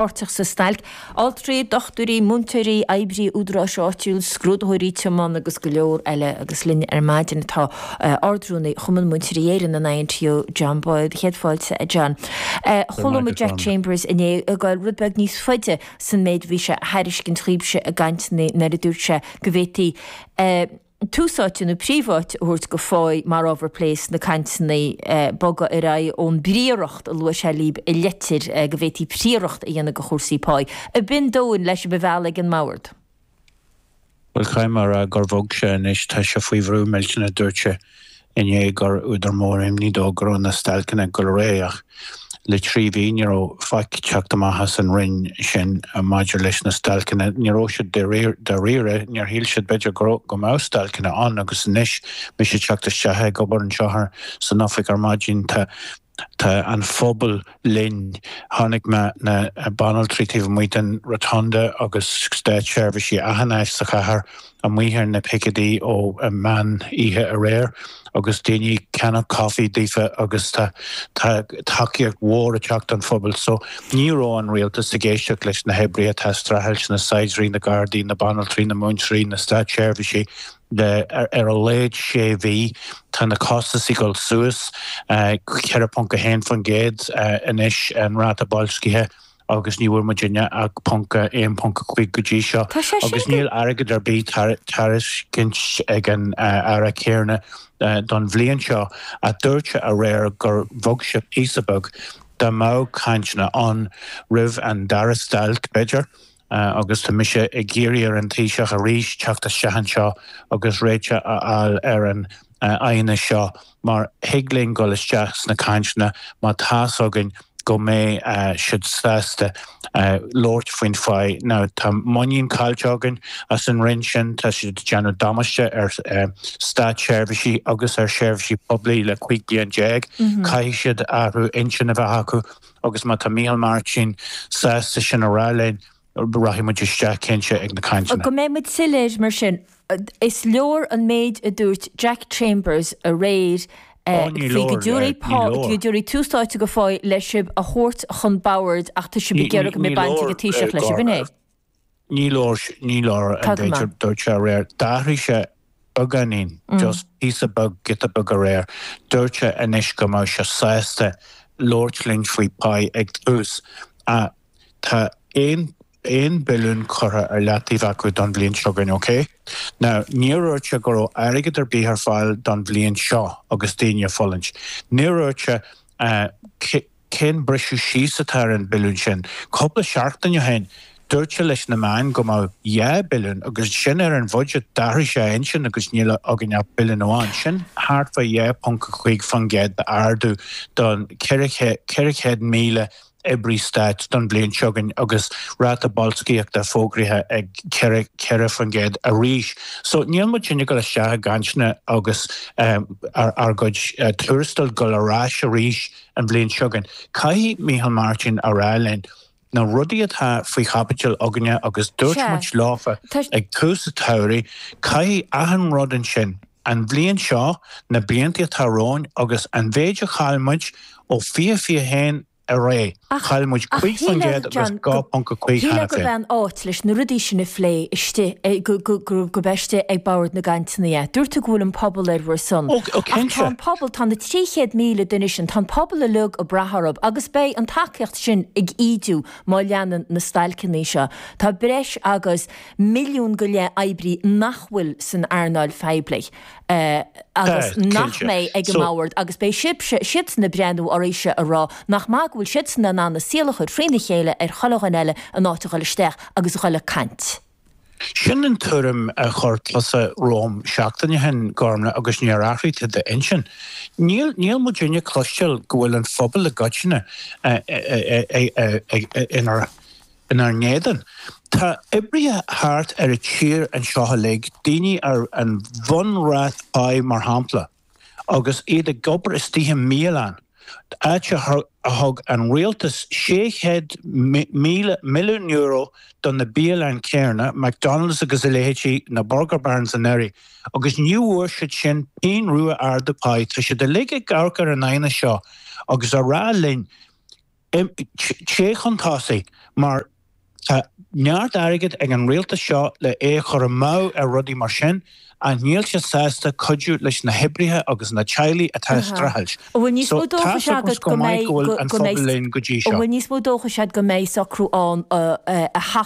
Páirteach sa stailc, altraí, dochtúirí, múinteoirí, oibrí údaráis áitiúil, scrúdaitheoirí tiomána agus go leor eile agus linn ar maidin atá Ard-Rúnaí Chumann Múinteoirí Éireann, an INTO, John Boyle. Céad fáilte, a John. Chuala muid Jack Chambers inné ag goil rud beag níos faide san méid a bhí sé a thairiscint dhaoibhse i gcainteanna nuair a dúirt sé go bhféadfaí tús áite nó príomháit a thabhairt go pháigh mar ábhar plé sna cainteanna, bogadh ar aghaidh ón bprióireacht a luaigh sé libh i litir, go bhféadfaí prióireacht a dhéanamh de chúrsaí páí. Ab in dóigh le sibh a mhealladh ag an mbord? Bhuel, caithfidh mé a rá gur bhog sé anois, tá sé faoi bhrú millteanach, dúirt sé inné gur údar mór imní dó go raibh na stailceanna ag dul ar aghaidh ach le 3 mhí ní raibh faic ag teacht amach as an Roinn sin maidir leis na stailceanna. Ní raibh siad dáiríre, níor shíl siad b'fhéidir go raibh, go mbeadh stailceanna ann agus anois mise ag teacht isteach ag obair anseo san oifig ar maidin tá Tá an phobal linn. Chonaic mé na banaltraí taobh amuigh den Rotunda agus státseirbhísigh achan áit sa chathair amuigh ar na picéidí ó meán oíche aréir agus daoine ag ceannach caife daofa agus tá tá tacaíocht mhór ag teacht ón phobal. So ní raibh an rialtas ag éisteacht leis na hoibrithe atá ag streachailt, na saighdiúirí, na gardaí, na banaltraí, na múinteoirí, na státseirbhísigh. le ar a laghad sé mhí. Tá na costais ag dul suas, 4.1% anois an ráta boilscithe agus ní bhfuair muidinne ach 1.5 go dtí seo agus níl airgead ar bith tairiscint ag an Aire céanna don bhliain seo ach dúirt sé aréir gur bhog sé píosa beag dá mbeadh cainteanna ann roimh an dara stailc b'fhéidir. Agus tá mise ag iarraidh ar an Taoiseach arís teacht isteach anseo agus réiteach a fháil ar an aighneas seo mar thig linn dul isteach sna cainteanna má tá's againn go mbeidh siad sásta labhairt faoin pháigh. Now tá muinín caillte againn as an Roinn sin, tá siad ag déanamh damáiste ar státseirbhísigh agus ar sheirbhísí poiblí le 15 bliain. Caithfidh siad athrú intinn a bheith acu. Agus má tá Micheál Martin sásta sin a rá linn, rachaidh muid isteach cinnte ag na cainteanna. Go mbeidh muid soiléir mar sin, is leor an méid a dúirt Jack Chambers aréir faoi go dtabharfaí tús áite go pháigh le sibh a thabhairt chun boird ach tá sibh ag iarraidh go mbeidh baint ag an Taoiseach leis, ab in é? Ní leor, ní leor an méid a dúirt sé aréir. D'athraigh sé beagáinín, just píosa beag, giota beag aréir. Dúirt sé anois go mbeadh sé sásta labhairt linn faoi pá ag tús. Ach tá aon, 1 billiún curtha ar leataobh acu don bhliain seo chugainn, ok? Now, níor dhúirt sé go raibh airgead ar bith ar fáil don bhliain seo agus daoine ag fulaingt. Níor dhúirt sé Cén briseadh síos atá ar an billiún sin? Cúpla seachtain ó shin, dúirt sé leis na meáin go mbeadh 2 billiún agus ansin ar an bhuiséad d'athraigh sé a intinn agus níl againn ach billiún amháin. Sin thart fá 2.5% d'ardú don 400,000 oibrí stáit don bhliain seo chugainn agus ráta boilscíochta fógraithe ag 4% arís. So níl muidinne ag dul isteach i gcainteanna agus ár gcuid tuarastail ag dul ar ais arís an bhliain seo chugainn. Caithfidh Micheál Martin a rá linn na rudaí atá faoi chaibidil againne agus dúirt muid leofa ag tús an tsamhraidh, caithfidh achan rud ansin, an bhliain seo, na blianta atá romhainn agus an mhéid a chaill muid ó 2021 ar aghaidh, chaill muid 5% agus 2.5 cheana féin. Shílfeá gurb é an áit leis na rudaí sin a phlé istigh, gurb é istigh ag bord na gcainteanna é. Dúirt tú go bhfuil an pobal ar bhur son. Ó, cinnte. Ach tá an pobal, tá na 300,000 duine sin, tá an pobal uilig ag brath orthu agus beidh an tacaíocht sin ag ídiú má leanann na stailceanna seo. Tá breis agus 1.5 milliún oibrí nach bhfuil san earnáil phoiblí. agus nach mbeidh ag an mbord agus beidh sibhse, siadsan ag breathnú oraibhse a rá nach maith go bhfuil siadsan in ann a saol a chur frína chéile ar chuile dhuine eile in áit a dhul isteach agus a dhul ag caint. Sin an tuairim a chuir tusa romham seachtain ó shin, Gormlaith, agus níor athraigh tú d'intinn. Níl, níl muidinne ag cloisteáil go bhfuil an phobal i gcoitinne inár inár n-éadan. Tá oibrithe thart ar an tír anseo uilig, daoine ar an bhunráta páí mar shampla, agus iad ag obair istigh i mbialann, áit a thug an rialtas €600 milliún do na bialanna céanna, McDonald's agus a leithéidí, na Burger Barns anuraidh, agus ní bhfuair siad sin pingin rua ardú páí. Tá siad uilig ag amharc ar an aighneas seo agus á rá linn. Téigh chun tosaigh mar tá neart airgid ag an rialtas seo le é a chur amú ar rudaí mar sin ach níl siad sásta cuidiú leis na hoibrithe agus na teaghlaigh atá ag streachailt. An bhfuil níos So mó tá dóchais 's agam agat go go maith mbeidh go bhfuil an go mbeidh phobal linn go dtí An seo. bhfuil níos mó dóchais agat go mbeidh socrú ann a.